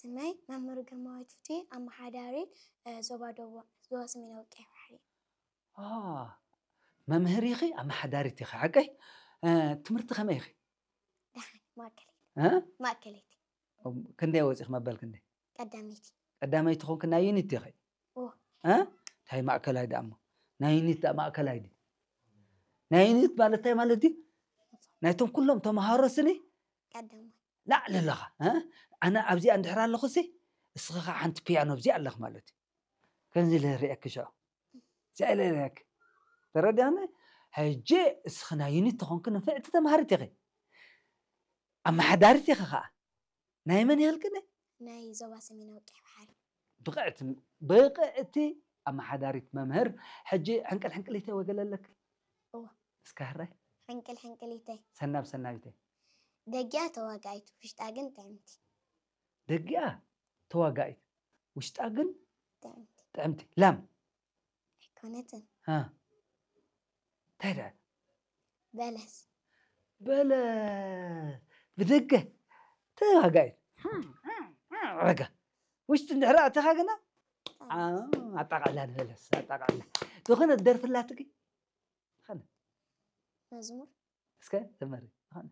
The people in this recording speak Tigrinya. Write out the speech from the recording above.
ስመይ መምህር ግርማዊት ፍትዊ፣ ኣመሓዳሪ እ፣ ዞባ ደቡብ፣ ዞባ ሰሜናዊ ቀይሕ ባሕሪ። አ፣ መምህር ኢኺ፣ ኣመሓዳሪት ኢኺ፣ ሓቀይ? እ፣ ትምህርቲ ከመይ ኢኺ? ደሓን ማእከለይቲ እ? ማእከለይቲ ክንደይ ወፂኺ መበል ክንደይ? ቀዳመይቲ ቀዳመይቲ ኾንክ ናይ ዩኒት ኢኺ? ኦ እ? እንታይ ማእከላይ ደኣ እሞ? ናይ ዩኒት ደኣ ማእከላይ ድዩ? ናይ ዩኒት ማለት እንታይ ማለት ድዩ? ናይቶም ኩሎም ተምሃሮ ስኒ ቀዳማይ ላዕሊ ኣለኻ እ? ኣነ ኣብዚኣ እንድሕር ኣለኹ ሲ እስኺ ከዓ ሓንቲ ፒያኖ ኣብዚኣ ኣለኽ ማለት እዩ። ከምዚ ኢለ ርእየኪ ሽዑ እዚኣ ኢለ ርእየኪ ተረዲኣኒ። ሕጂ እስኺ ናይ ዩኒት ተኾንኪ ንፍዕቲ ተምሃሪት ኢኺ ኣመሓዳሪት ኢኺ ከዓ ናይ መን ይሃልክኒ ናይ ዞባ ሰሜናዊ ቀይሕ ባሕሪ ብቕዕቲ ብቕዕቲ ኣመሓዳሪት መምህር። ሕጂ ሕንቅል ሕንቅሊተይ ወገለ ኣለኪ እወ። እስከ ህራይ ሕንቅል ሕንቅሊተይ ሰናብ ሰናቢተይ ደጊኣ ተዋጋኢት ውሽጣ ግን ጥዕምቲ ደጊኣ ተዋጋኢት ውሽጣ ግን ጥዕምቲ ጥዕምቲ ላም ኣይኮነትን እ። እንታይ ደኣ በለስ በለ ብደገ ተዋጋኢት ረጋ ውሽጢ እንድሕር ኣተኻ ግና ኣጣቃዕላ ንበለስ ኣጣቃዕላ ዝኾነ ደርፍላትኪ መዝሙር እስከ ዘመሪ ዝኾነ